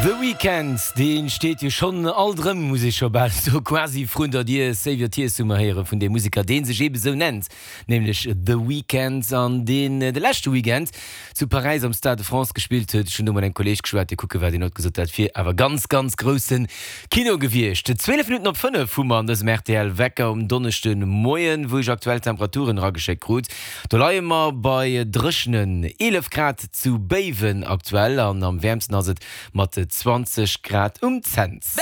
The Weeknd, dee steet jo schonn alt erëm, muss ee scho bal soen, quasi vrun der Dier. Save Your Tears hu mer héiere vun deem Museker, dee sech eebe sou nennt, nämlech The Weeknd, an deen de leschte Weekend zu Paräis am Stade de France gespillt huet. Ech hunn do mat engem Kolleeg geschwat, dee kucke war, deen huet gesot, dat wier awer ganz, ganz grousse Kino gewiescht. 12 Minutten op 5 hu mer an dësem rtl Wecker um Donneschdemoien, wou ech aktuell Temperaturen erageschéckt krut. Do leie mer bei dréchenen 11 Grad zu Béiwen aktuell an am wäermsten ass et mat 20 Grad um Cents.